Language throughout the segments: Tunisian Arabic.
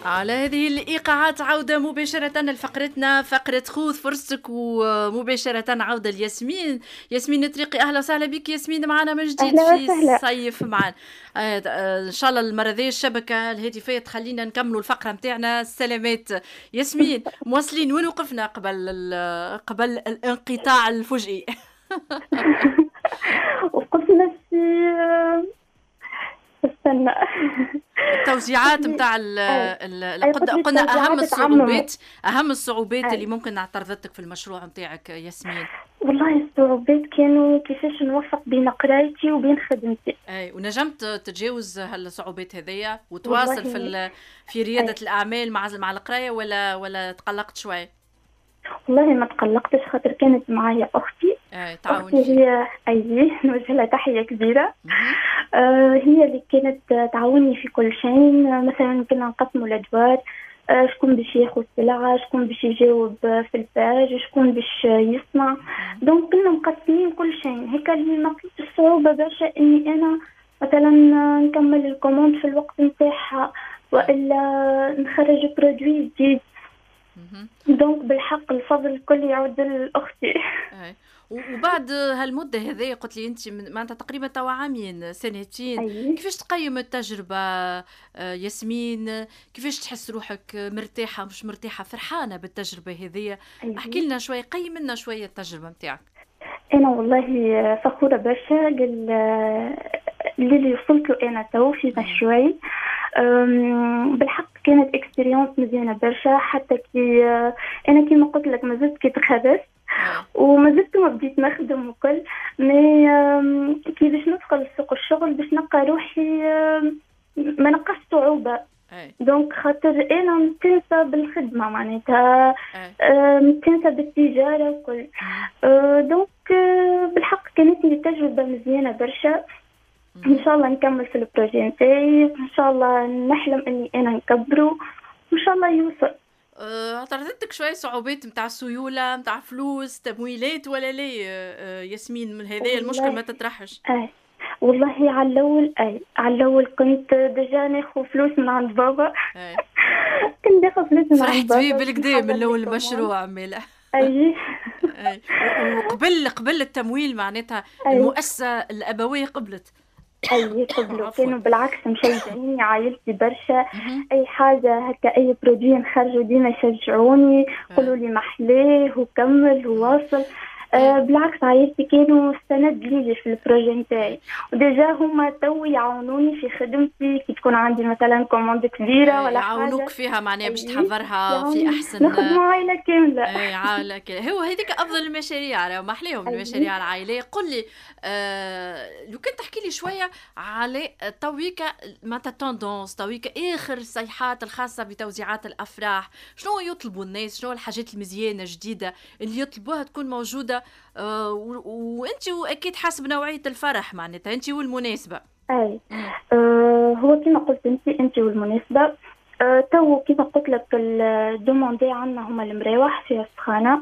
على هذه الإيقاعات عودة مباشرة لفقرتنا، فقرة خذ فرصتك، ومباشرة عودة لياسمين. ياسمين الطريقي، أهلا وسهلا بك ياسمين معنا من جديد في صيف معنا. إن شاء الله المرة ذي الشبكة الهاتفية تخلينا نكملوا الفقرة متاعنا. سلامات ياسمين، مواصلين وين وقفنا قبل الانقطاع الفجئي؟ وقفنا في، استنى، التوزيعات نتاع، قلنا اهم الصعوبات اللي ممكن اعترضتك في المشروع نتاعك ياسمين. والله الصعوبات كانوا كيفاش نوفق بين قرايتي وبين خدمتي. اي، ونجمت تتجاوز هالصعوبات هذيا وتواصل في رياده الاعمال مع القراية ولا تقلقت شوي؟ والله ما تقلقتش، خاطر كانت معايا اختي. اي. تعاون. اختي هي، اي، نوجه لها تحية كبيره. هي اللي كانت تعاوني في كل شيء. مثلا كنا نقسموا الادوار، شكون باش ياخذ السلعه، شكون باش يجاوب في ال page، شكون باش يصنع، donc كنا مقسمين كل شيء هيك. اللي ما لقيتش الصعوبة برشا اني انا مثلا نكمل ال commande في الوقت نتاعها والا نخرج produit جديد. donc بالحق الفضل الكل يعود لاختي. وبعد هالمده هذه، قلت لي انت معناتها تقريبا توا عامين، سنتين. كيفاش تقيم التجربة ياسمين؟ كيفاش تحس روحك؟ مرتاحه، مش مرتاحه، فرحانة بالتجربة هذه؟ احكي لنا شويه، قيم لنا شوية التجربة نتاعك. انا والله فخورة برشا للي وصلت له انا تو في مشروعي. بالحق كانت expérience مزيانه برشا، حتى كي انا كيما قلت لك مازلت كي تخرجت ومازلت ما بديت نخدم وكل، mais كي باش ندخل سوق الشغل باش نلقى روحي ما نلقاش صعوبه. donc خاطر انا متنسى بالخدمه، معناتها متنسى بالتجارة وكل. Donc بالحق كانت لي تجربه مزيانه برشا. ان شاء الله نكمل في ال projet نتاعي، ان شاء الله نحلم اني انا نكبره وان شاء الله يوصل. اعترضتك شوية صعوبات نتاع سيوله، نتاع فلوس، تمويلات ولا لا ياسمين؟ من هذا المشكل ما تطرحش؟ اه والله على الاول، اي، على الاول كنت déjà ناخذ فلوس من عند بابا. كنت ناخذ فلوس من عند بابا. فرحت بيه بالكدا من الاول المشروع مالا. اي. وقبل التمويل معناتها المؤسسة الابوية قبلت؟ اي، قبلوا، كانوا بالعكس مشجعيني عائلتي برشا. اي حاجة هكا، اي produit نخرجوا، ديما يشجعوني، يقولوا لي محلاه وكمل وواصل. بالعكس عائلتي كانوا سند لي في ال projet نتاعي، و déjà هما تو يعاونوني في خدمتي كي تكون عندي مثلا commande كبيرة ولا حاجه. يعاونوك فيها معناها باش تحضرها في احسن نخدموا عائلة كامله. اي، عائلة كامله. هو هذيك افضل المشاريع، ما احلاهم المشاريع العائليه. قل لي لو كنت تحكي لي شوية على تويكا معناتها tendance تويكا، اخر الصيحات الخاصة بتوزيعات الافراح، شنو يطلبوا الناس؟ شنو الحاجات المزيانه الجديدة اللي يطلبوها تكون موجوده؟ وانت اكيد حسب نوعية الفرح، معناتها انت والمناسبه. اي، هو كما قلت انت، انت والمناسبه. تو كما قلت لك ال demandé عندنا هما المراوح فيها السخانه.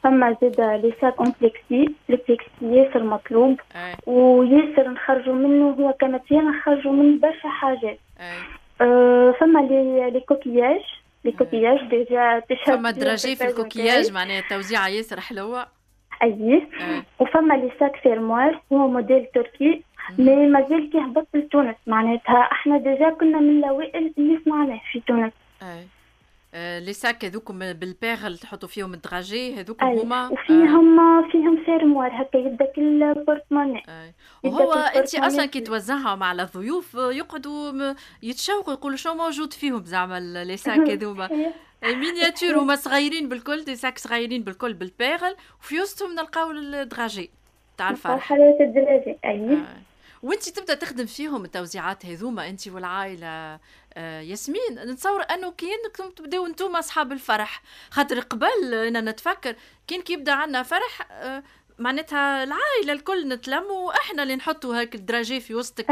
فما زاد les sacs en plexi، le plexi ياسر مطلوب وياسر نخرجوا منه، هو ك matière نخرجوا منه برشا حاجات. فما les coquillages، les coquillages déjà. فما dragées في ال coquillage، معناها التوزيعه ياسر حلوه. اي، وفما les sacs fermoir، هو موديل تركي mais مازال كي هبط لتونس، معناتها احنا déjà كنا من الاوائل اللي صنعناه في تونس. اي، les sacs هذوكم بال perles تحطوا فيهم ال dragées هذوك هما. وفيهم فيهم fermoir هكا يبدا كل porte-monnaie. وهو انت اصلا كي توزعهم على الضيوف يقعدوا يتشوقوا، يقولوا شنو موجود فيهم زعما les sacs هذوما miniature، هما صغيرين بالكل، des sacs صغيرين بالكل بال perles، وفي وسطهم نلقاو ال dragées تاع الفرح. حلاوة ال dragées، اي. وانت تبدا تخدم فيهم التوزيعات هذوما انت والعائلة ياسمين، نتصور انه كاينكم تبداو انتم اصحاب الفرح، خاطر قبل انا نتفكر كان كي يبدا عندنا فرح معناتها العائلة الكل نتلموا واحنا اللي نحطوا هاك ال dragées في وسطك،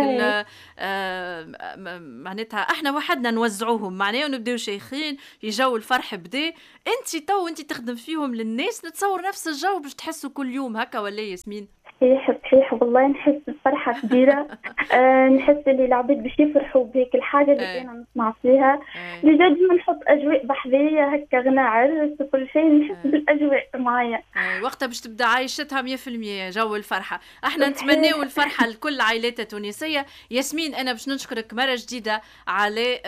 معناتها احنا وحدنا نوزعوهم معناها ونبداو شيخين في جو الفرح بدا. انت تو انت تخدم فيهم للناس، نتصور نفس الجو باش تحسوا كل يوم هكا ولا ياسمين؟ صحيح صحيح والله، نحس بفرحة كبيرة. نحس اللي العباد باش يفرحوا بهيك الحاجة اللي انا نسمع فيها. déjà ديما نحط اجواء بحذايا هكا، غنى عرس وكل شيء، نحس بالاجواء معايا. وقتها باش تبدا عايشتها 100% جو الفرحة. احنا نتمناو الفرحة لكل العائلات التونسية. ياسمين، انا باش نشكرك مرة جديدة على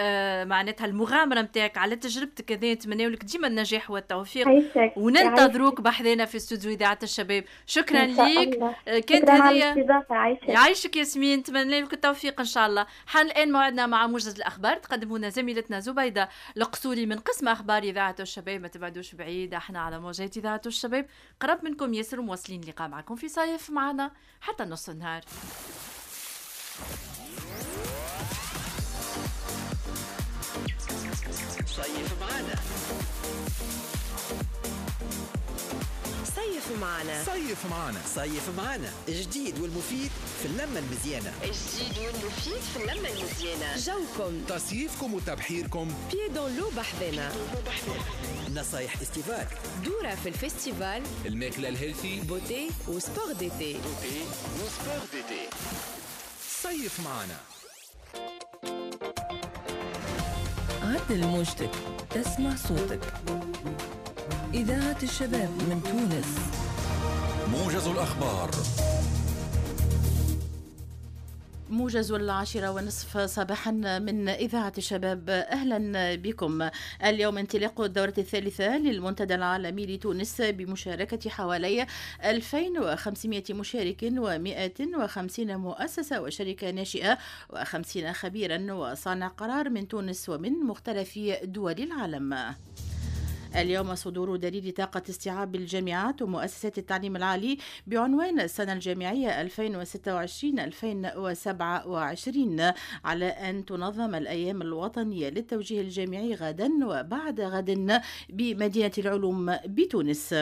معناتها المغامرة نتاعك، على تجربتك هذه. نتمناو لك ديما النجاح والتوفيق، وننتظروك بحذانا في استوديو اذاعة الشباب. شكرا ليك. كانت هذه يعيشك ياسمين، نتمنى لك التوفيق ان شاء الله. حان الان موعدنا مع موجز الاخبار، تقدمونا زميلتنا زبيده القصوري من قسم اخبار اذاعة الشباب. ما تبعدوش بعيد، احنا على موجات اذاعة الشباب قرب منكم ياسر، ومواصلين اللقاء معكم في صيف معنا حتى نص النهار. صيف معنا، صيف معنا، صيف معنا، صيف معنا، الجديد والمفيد في اللمة المزيانة. الجديد والمفيد في اللمة المزيانة. جوكم، تصيفكم وتبحيركم، pieds dans l'eau بحذنا، نصايح estivale، دورة في ال festival، الماكلة ال healthy، beauté و sport d'été، beauté و sport d'été. صيف معنا. عدل موجتك تسمع صوتك. إذاعة الشباب من تونس. موجز الأخبار. موجز 10:30 صباحا من إذاعة الشباب، أهلا بكم. اليوم انطلاق الدورة الثالثة للمنتدى العالمي لتونس بمشاركة حوالي 2500 مشارك و150 مؤسسة وشركة ناشئة و50 خبيرا وصانع قرار من تونس ومن مختلف دول العالم. اليوم صدور دليل طاقة استيعاب الجامعات ومؤسسات التعليم العالي بعنوان السنة الجامعية 2026-2027، على أن تنظم الأيام الوطنية للتوجيه الجامعي غدا وبعد غد بمدينة العلوم بتونس.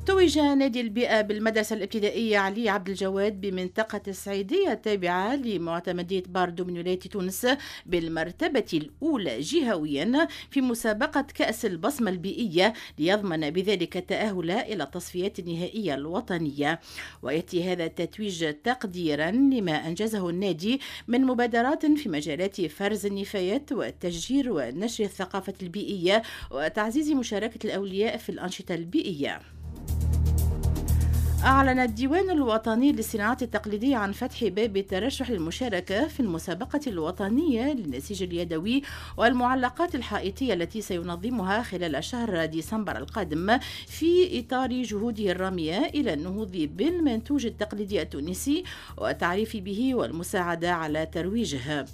توج نادي البيئة بالمدرسة الابتدائية علي عبد الجواد بمنطقة السعيدية التابعة لمعتمدية باردو من ولاية تونس بالمرتبة الأولى جهويا في مسابقة كأس البصمة البيئية، ليضمن بذلك التأهل إلى التصفيات النهائية الوطنية. ويأتي هذا التتويج تقديرا لما أنجزه النادي من مبادرات في مجالات فرز النفايات والتشجير ونشر الثقافة البيئية وتعزيز مشاركة الأولياء في الأنشطة البيئية. أعلن الديوان الوطني للصناعات التقليدية عن فتح باب الترشح للمشاركة في المسابقة الوطنية للنسيج اليدوي والمعلقات الحائطية التي سينظمها خلال شهر ديسمبر القادم في إطار جهوده الرامية إلى النهوض بالمنتوج التقليدي التونسي والتعريف به والمساعدة على ترويجه.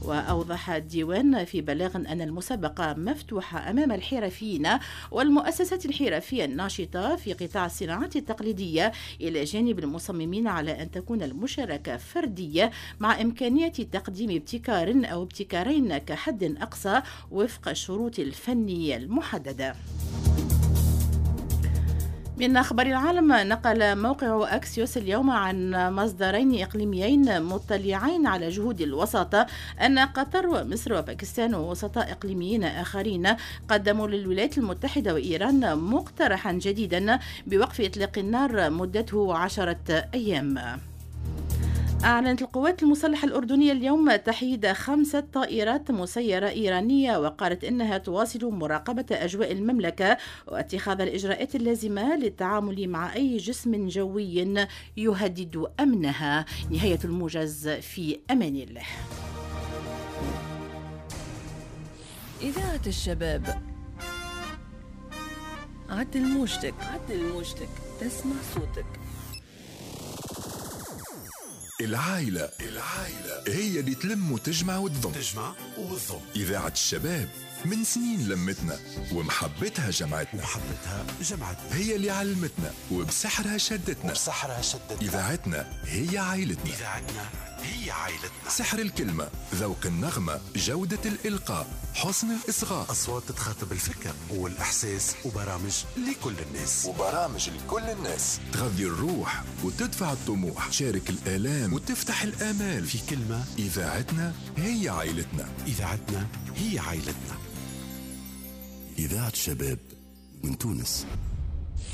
وأوضح الديوان في بلاغ أن المسابقة مفتوحة أمام الحرفيين والمؤسسات الحرفية الناشطة في قطاع الصناعات التقليدية، إلى جانب المصممين، على أن تكون المشاركة فردية مع إمكانية تقديم ابتكار أو ابتكارين كحد أقصى وفق الشروط الفنية المحددة. من أخبار العالم، نقل موقع أكسيوس اليوم عن مصدرين إقليميين مطلعين على جهود الوساطة أن قطر ومصر وباكستان ووسطاء إقليميين آخرين قدموا للولايات المتحدة وإيران مقترحا جديدا بوقف إطلاق النار مدته 10 أيام. أعلنت القوات المسلحة الأردنية اليوم تحييد 5 طائرات مسيرة إيرانية، وقالت إنها تواصل مراقبة أجواء المملكة واتخاذ الإجراءات اللازمة للتعامل مع أي جسم جوي يهدد أمنها. نهاية الموجز، في أمان الله. إذاعة الشباب، عدل موجتك، عدل موجتك تسمع صوتك. العائلة، العائلة هي اللي تلم وتجمع وتضم، تجمع وتضم. إذاعة الشباب من سنين لمتنا ومحبتها جمعتنا، ومحبتها جمعتنا، هي اللي علمتنا وبسحرها شدتنا، وبسحرها شدتنا. إذاعتنا هي عائلتنا، إذاعتنا هي عائلتنا. سحر الكلمة، ذوق النغمة، جودة الإلقاء، حسن الإصغاء، أصوات تخاطب الفكر والإحساس، وبرامج لكل الناس، وبرامج لكل الناس تغذي الروح وتدفع الطموح، تشارك الآلام وتفتح الآمال. في كلمة، إذاعتنا هي عائلتنا، إذاعتنا هي عائلتنا. إذاعة الشباب من تونس.